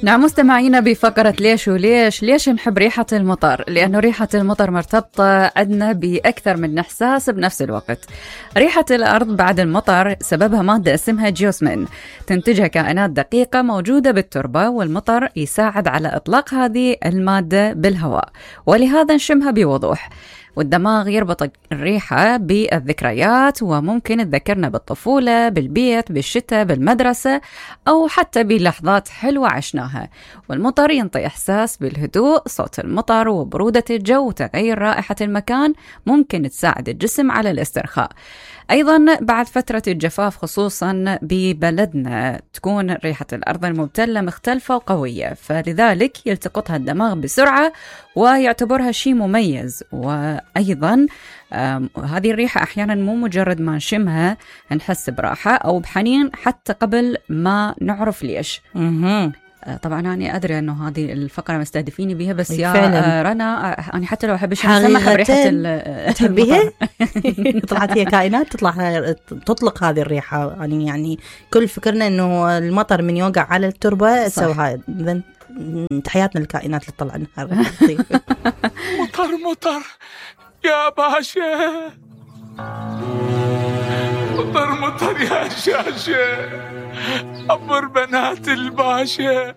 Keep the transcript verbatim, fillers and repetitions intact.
نعم مستمعينا بفقرة ليش وليش. ليش نحب ريحة المطر؟ لأنه ريحة المطر مرتبطة عندنا بأكثر من إحساس بنفس الوقت. ريحة الأرض بعد المطر سببها مادة اسمها جيوسمين، تنتجها كائنات دقيقة موجودة بالتربة، والمطر يساعد على إطلاق هذه المادة بالهواء، ولهذا نشمها بوضوح. والدماغ يربط الريحة بالذكريات، وممكن تذكرنا بالطفولة، بالبيت، بالشتاء، بالمدرسة، أو حتى بلحظات حلوة عشناها. والمطر ينطي إحساس بالهدوء. صوت المطر وبرودة الجو وتغير رائحة المكان ممكن تساعد الجسم على الاسترخاء. أيضا بعد فترة الجفاف خصوصا ببلدنا تكون ريحة الأرض المبتلة مختلفة وقوية، فلذلك يلتقطها الدماغ بسرعة ويعتبرها شيء مميز. وأيضا هذه الريحة أحيانا مو مجرد ما نشمها نحس براحة أو بحنين حتى قبل ما نعرف ليش. طبعا أنا أدري أنه هذه الفقرة مستهدفيني بها، بس يا فعلا. رنا أنا حتى لو أحبش أسمح بريحة تحبيها طلعت هي كائنات تطلع تطلق هذه الريحة. يعني يعني كل فكرنا أنه المطر من يوقع على التربة سوى هاي. إذن تحياتنا للكائنات اللي طلع النهار. مطر مطر يا باشا، مطر مطر يا شاشة، عبر بنات الباشا.